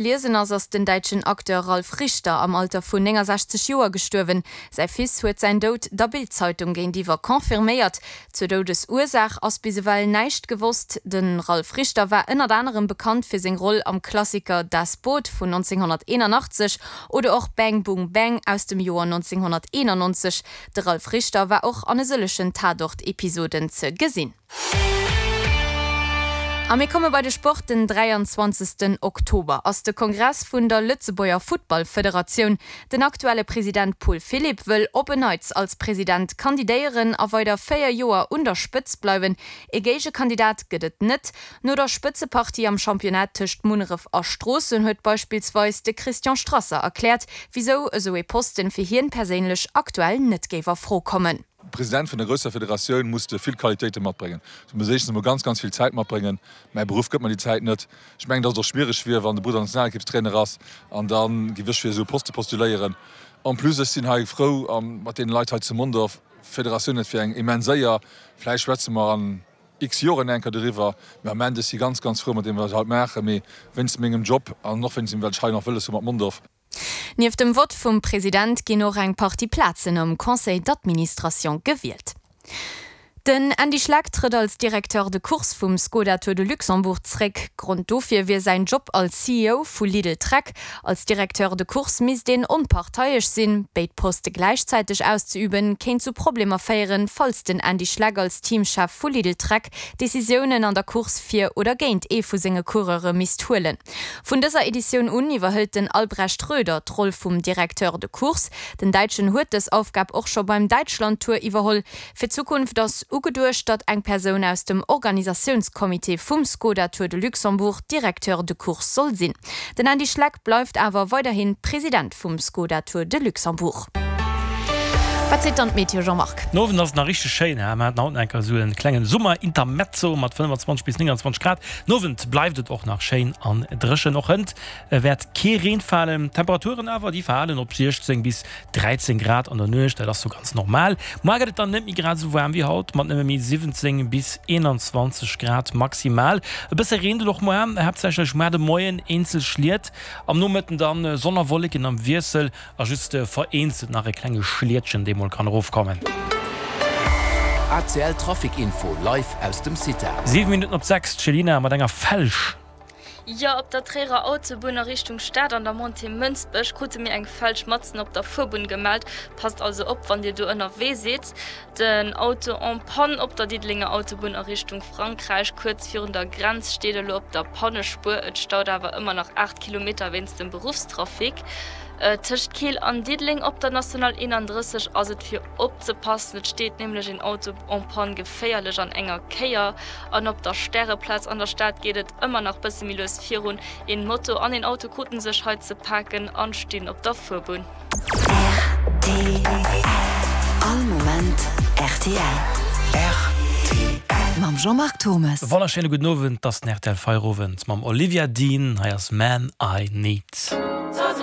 Liesen ass, ass den däitschen Acteur Ralf Richter am Alter vun 69 Joer gestuerwen. Säi Fils huet säin Doud der Bild-Zeitung géintiwwer confirméiert. Zur Doudesursaach ass bis ewell näischt gewosst. De Ralf Richter war ënnert anerem bekannt fir seng Roll am Klassiker Das Boot vun 1981 oder och Bang Boom Bang aus dem Joer 1991. De Ralf Richter war och an e sëllegen Tatort-Episoden ze gesinn. A mir komme bei de Sport, Den 23 Oktober ass de Kongress vun der Lëtzebuerger Futtballfederatioun. Den aktuelle President Paul Philipp wëll op en Neits als President kandidéieren a weider 4 Joer un der Spëtz bleiwen. E Géigekandidat gëtt et net. No der Spëtzepartie am Championnat tëscht Munneref a Stroossen huet beispillsweis de Christian Strasser erkläert, wisou esou ee Posten fir hien perséinlech aktuell net géif a Fro kommen. President vun der grousser Federatioun muss de vill Qualitéite matbréngen. Du muss éischtens emol ganz, ganz vill Zäit matbréngen. Mäi Beruff gëtt mer déi Zäit net. Ech mengen, datt et och schwiereg wier, wann de Brudder Nationalekippstrainer ass an da géif ech fir esou e Poste postuléieren. En plus, ech sinn hei frou mat deene Leit hei zu Mondorf. D'Federatioun, dat wier eng immens Éier. Vläicht schwätze mer an x Joren eng Kéier doriwwer. Mee am Ament, ech si ganz, ganz frou mat deem, wat ech haut maachen. Mee wéinst mengem Job an och wéinst deem, wat ech hei nach wëlles hu mat Mondorf. Nieft dem Vott vum President ginn och eng Partie Plazen am Conseil d'administration gewielt. Den Andy Schleck trëtt als Directeur de course vum Skoda Tour de Luxembourg zréck. Grond dofir wier säin Job als CEO vu Lidl-Trek. Als Directeur de course misst een onparteiesch sinn. Béid Poste gläichzäiteg auszeüben, kéint zu Problemer féieren, falls den Andy Schleck als Teamchef vu Lidl-Trek Decisiounen an der Course fir oder géint ee vu senge Coureure misst huelen. Vun dëser Editioun un iwwerhëlt den Albrecht Röder d'Roll vum Directeur de course. Den Däitschen huet dës Aufgab och scho beim Däitschland-Tour iwwerholl. Fir d'Zukunft ass ugeduecht, datt eng Persoun aus dem Organisatiounscomité vum Skoda Tour de Luxembourg Directeur de course soll sinn. Den Andy Schleck bleift awer weiderhi President vum Skoda Tour de Luxembourg. Wat seet dann d'Meteo, Jean-Marc? Den Owend ass et nach richteg schéin, mir haten haut nach eng Kéier esou e klengen Summer-Intermezzo mat 25 bis 29 Grad. Den Owend bleift et och nach schéin an dréchen, och hënt wäert kee Reen falen. D'Temperaturen awer, déi falen op 16 bis 13 Grad an der Nuecht, dat ass sou ganz normal. Muar gëtt et dann net méi grad esou waarm wéi haut, mat nëmme méi 17 bis 21 Grad maximal. E bësse reent et och muar, haaptsächlech muar de Moien eenzel Schliet, am Nomëtten dann Sonn a Wolleken am Wiessel. A just vereenzelt nach e klenge Schlietchen, dee mol kann erofkommen. ACL Trafic Info live aus dem CITA. 7 Minutten op 6, d'Chelina mat enger Felsch. Jo, op der Tréierer Autobunn a Richtung Stad an der Montée Mënsbech krute mir eng Felsch matzen op der Fuerbunn gemellt. Passt also op wann dir do ënnerwee sidd. Den Auto en panne op der Diddelenger Autobunn a Richtung Frankräich, kuerz virun der Grenz, steet elo op der Pannespuer. Et staut awer ëmmer nach 8 Kilometer wéinst dem Beruffstrafic. Tëscht Keel an Diddeleng op der National 31 ass et fir opzepassen. Et steet nämlech een Auto en panne geféierlech an enger Kéier. An op der Stäreplaz an der Stad geet et ëmmer nach bësse méi lues virun. Een Moto an een Auto kruten sech hei ze paken an stinn op der Fuerbunn. Rtl. All Moment rtl. Rtl. Mam Jean-Marc Thommes. Wonnerschéine gudden Owend, 't ass den rtl Feierowend mam Olivia Dean. Hei ass Man I Need.